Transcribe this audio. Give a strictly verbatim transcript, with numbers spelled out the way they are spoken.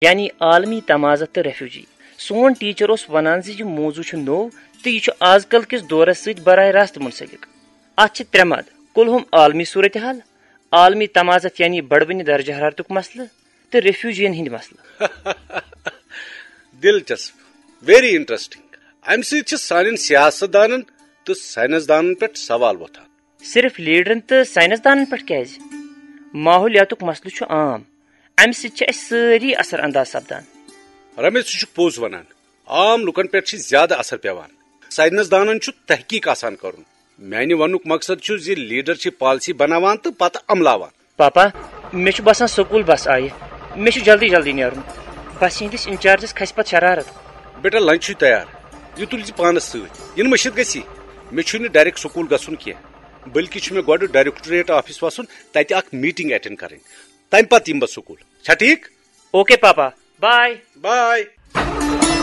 یعنی عالمی تمازت تہٕ ریفیوجی۔ سون ٹیچر اوس ونان زِ یہِ موضوع چھُ نوٚو تہٕ یہِ چھُ آز کل کِس دورس سۭتۍ براہ راست منسلک۔ اتھ چھِ ترٛےٚ مد، کلہم عالمی صورتحال، عالمی تمازت یعنی بڑوٕنہِ درجہ حرارتُک مسلہٕ، تہٕ ریفیوجین ہٕنٛدۍ مسلہٕ۔ دلچسپ، ویری انٹرسٹنگ۔ امہِ سۭتۍ چھِ سانٮ۪ن سیاست دانن تہٕ ساینس دانن پٮ۪ٹھ سوال وۄتھان۔ صرف لیڈرن تہٕ ساینس دانن پٮ۪ٹھ کیازِ؟ ماحولیاتُک مسلہٕ چھُ عام، امہِ سۭتۍ چھِ اسہِ سٲری اثر انداز سپدان۔ رمیش، ژٕ چھُکھ پوٚز ونان، عام لُکن پٮ۪ٹھ چھِ زیادٕ اثر پیوان۔ ساینس دانن چھُ تحقیق آسان کرُن۔ میانہِ وننُک مقصد چھُ زِ لیڈر چھِ پالیسی بناوان تہٕ پتہٕ عملاوان۔ پاپا، مےٚ چھُ باسان سکوٗل بس آیہِ۔ مےٚ چھُ جلدی جلدی نیرُن۔ بس ہٕنٛدِس انچارجس کھسہِ پتہٕ شرارت۔ بیٹا، لنچ چھُے تیار، یہِ تُلۍ زِ پانس سۭتۍ۔ یِنہٕ مٔشِتھ گژھی۔ مےٚ چھُے نہٕ ڈائریکٹ سکوٗل گژھُن کینٛہہ، بلکہِ چھُ مےٚ گۄڈٕ ڈائریکٹوریٹ آفس وسُن، تتہِ اکھ میٹنگ اٹینڈ کرٕنۍ۔ تمہِ پتہٕ یِمہٕ بہٕ سکوٗل۔ چھا ٹھیٖک؟ اوکے پاپا، بائے۔ بائے۔